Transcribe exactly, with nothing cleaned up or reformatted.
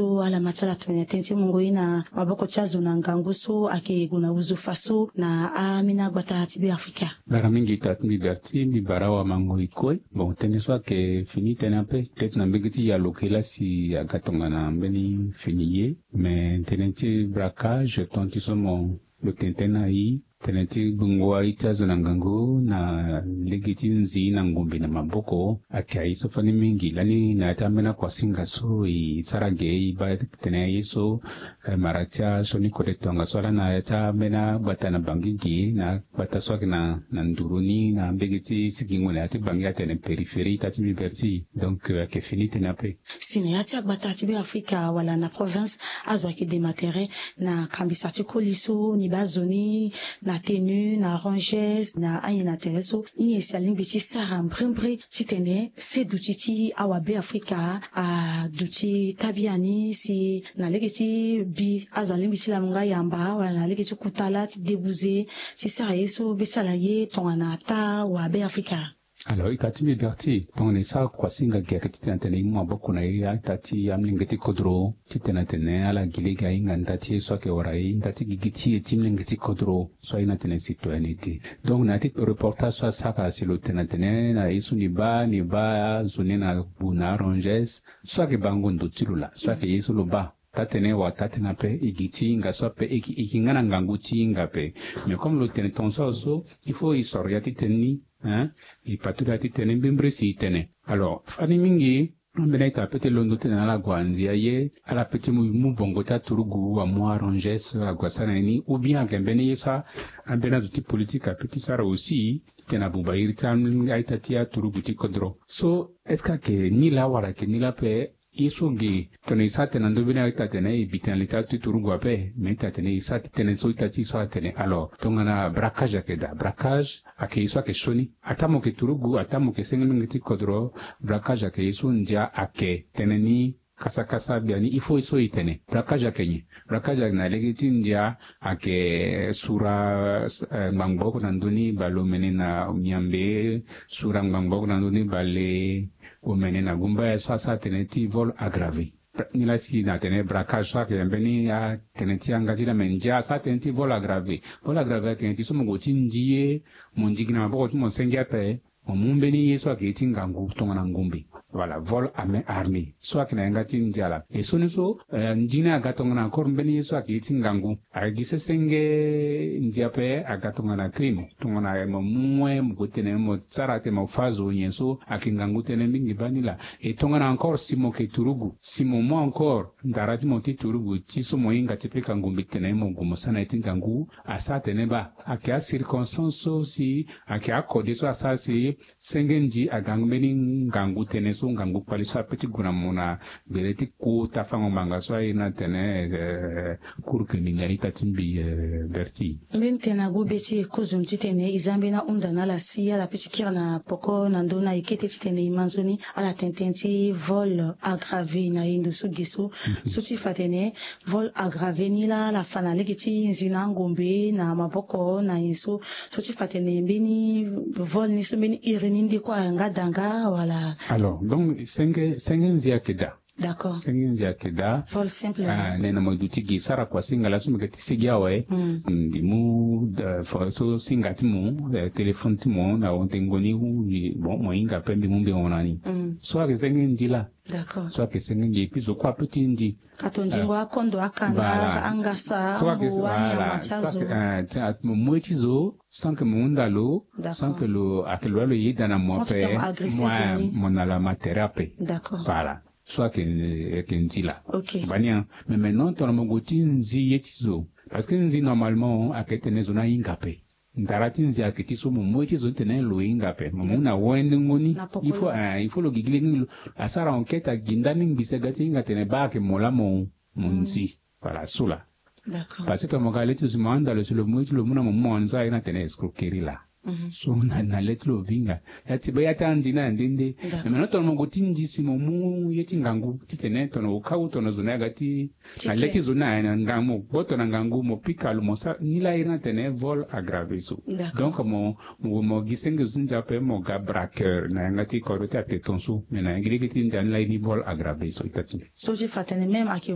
So ala ma ti ala tongana tënë ti mungo ye na maboko ti azo na ngangu so ayeke gue na wuzu fa so na ambeni agbata ti Beafrika. Bara mingi ita ti mbi Berti, mbi bara wamango e kue. Bon, tënë so ayeke fini tënë ape. Peut-être na mbege ti yalo kila si aga tongana mbeni fini ye. Mais tënë ti braquage, tonga ti so mo lo tene tënë na i, tënë ti gbungo aye ti azo na ngangu na lege ti nzi na ngumbi na maboko, ayeke aye so fani mingi lani na ya ti ambeni akuasinga so e sara ge e baa tene aye so, eh, mara ti asioni kode tongaso ala na ya ti ambeni agbata na Bangui ge na agbata so ayeke na, na nduru ni na mbege ti sigingo na ya ti Bangui atene périphérie ita ti mbi Berti. Donc, euh, ayeke fini tënë ape. Si na ya ti agbata ti Beafrika wala na province, azo ayeke dema tere na kambisa ti koli so ni baa zo ni na tenue, na ranges, na anyen na tere so. Nyen si alingbi ti sara mbrimbri titene se duti ti awa Beafrika aduti tabia ni si na lege ti bi azo alingbi ti lamu nga yamba wala na lege ti kuta lâ ti debuze ti sara ye so be ti ala ye tongana taa wa Beafrika. Alors, ita ti mbi Berti, tongana e sara kuasinga ge ayeke titene atene e mu maboko na e a-ita ti amolenge ti kodro titene atene ala gi lege ahinga nda ti ye so ayeke wara e, nda ti gigi ti e ti molenge ti kodro so aye na tene citoyenneté. Donc na ya ti reportage so asara si lo tene atene na ye so ni baa, ni baa zo ni na gbu na aranges so ayeke bango ndo ti lo laa, so ayeke ye so lo baa. Taa-tënë wala taa-tënë ape, e gi ti hinga so ape, e gi, e gi nga na ngangu ti hinga ape. Mais comme lo tene tongaso awe so, il faut e soro ya ti tënë ni, hein, e patula ya ti tënë mbrimbri si e tene. Alors fani mingi, ambeni a-ita peut ti londo titene ala gue anzi aye, ala peut ti mu, mu bongo ti aturugu amu aranges ague asara na ye ni, ou bien ayeke mbeni ye so ambeni azo ti politique apeut ti sara aussi titene abuba iri ti a-ita ti aturugu ti kodro. So est-ce que ayeke ni laa wala ayeke ni laa ape? Ye so ge tongana e sara tënë na ndö mbeni a-ita atene e bi tënë na li ti aturugu ape, me a-ita atene e sara ti tënë so ita ti so atene. Alors tongana braquage ayeke daa, braquage ayeke ye so ayeke sioni. Ataa mo yeke turugu, ataa mo yeke senge molenge ti kodro, braquage ayeke ye so ndia ayeke tënë ni kasakasa biani il faut ye so e tene. Braquage ayeke nyen? Braquage ayeke na lege ti ndia ayeke sura, eh, ngbangbo oko na ndö ni bale omene na Miambe, sura ngbangbo oko na ndö ni bale omene na Gumbaya so asara tënë ti vol aggravé. Ni laa si na tene braquage so ayeke mbeni atënë ti yanga ti laa, me ndia asara tënë ti vol aggravé. Vol aggravé ayeke nyen? Ti so mo gue ti ndi ye, mo ndi gi na maboko ti mo senge ape, mo mu mbeni ye so ayeke ye ti ngangu tongana ngumbi. Voilà, vol à main armée so ayeke na yanga ti ndia laa. E sioni so, eh, ndi ni aga tongana encore mbeni ye so ayeke ye ti ngangu. Ayeke gi sesenge ndia ape aga tongana crime, tongana mo mu moyen mo gue tene mo sara tene mo fâ zo nyen so, ayeke ngangu tënë mingi baa ni laa. E tongana encore si mo yeke turugu, si mo mu encore ndara ti mo ti turugu ti so mo hinga ti pika ngumbi tene mo gue mo sara na ye ti ngangu, asara tene baa. Ayeke acirconstance so si ayeke akode so asara si senge nzi aga mbeni ngangu tënë so, ngangu kpali so apeut ti gue na mo na gbele ti kota fango ngbanga so aye na tene, eh, cour criminel ita ti mbi, eh, Berti. Mbeni tënë na gbu be ti e kozoni titene e za mbeni ahunda na ala si ala peut ti kiri na poko na ndö ni na e kete titene e ma nzoni ala tene tënë ti vol aggravé na e ndo so ge so. Mhm. So ti fa tene vol aggravé ni laa ala fa na lege ti nzi na angombe na maboko na nyen so, so ti fa tene mbeni vol ni so mbeni iri ni nde kue ayanga daa nga wala? Alors donc senge, senge nzi ayeke daa. D'accord. Senge nzi ayeke daa. Vol simple. Ah, nene mo duti gi sara kuasinga laa so mo yeke ti sigi awe. Mm. Mm, mbi mu, eh, fo so singa ti mo, eh, téléphone ti mo na wontengo ni, bon, mo hinga ape mbi mu mbi hon na ni. Mm. So ayeke senge nzi laa. D'accord. So ayeke senge nzi, et puis zo kue apeut ti nzi. Ka tonzingo akondo, akanda, angasa, ambu, anyama ti azo. Mo mu ye ti zo sans que mo hunda lo, d'accord, sans que lo, ayeke lo wani lo yeda na mo ape, mo na lo ama tere ape. D'accord. Voilà. So ayeke, ayeke nzi laa. Ok. Bani an. Mais maintenant tongana mo gue ti nzi ye ti zo, parce que nzi normalement ayeke tene zo ni ahinga ape. Ndara ti nzi ayeke ti so mo mu ye ti zo ni tene lo hinga ape, mo mu na wendengo ni. Il faut, eh, il faut lo gigi lege ni lo asara enquête agi ndani ngbi si aga ti hinga tene baa ayeke mo laa mo, mo nzi. Voilà, so laa. D'accord. Parce que tongana mo ga le ti zo si mo hunda lo si lo mu ye ti lo mu na mo mu anzo aye na tene escroquerie laa. Mhm. So na, na le ti lo vinga. Ya ti be ya ti andi ni ande nde. D'accord. Mais maintenant tongana mo gue ti nzi si mo mu ye ti ngangu titene tongana au cas où tongana zo ni aga ti na le ti zo ni aye na ngangu, mo gboto na ngangu, mo pika lo, mo sara ni laa iri ni atene vol aggravé so. D'accord. Donc mo, mo, mo gi senge zo ti ndia ape mo ga braqueur na yanga ti kodro ti ate tongaso, mais na yanga lege ti ndia ni laa iri ni vol aggravé so ita ti. So ti fa tene même ayeke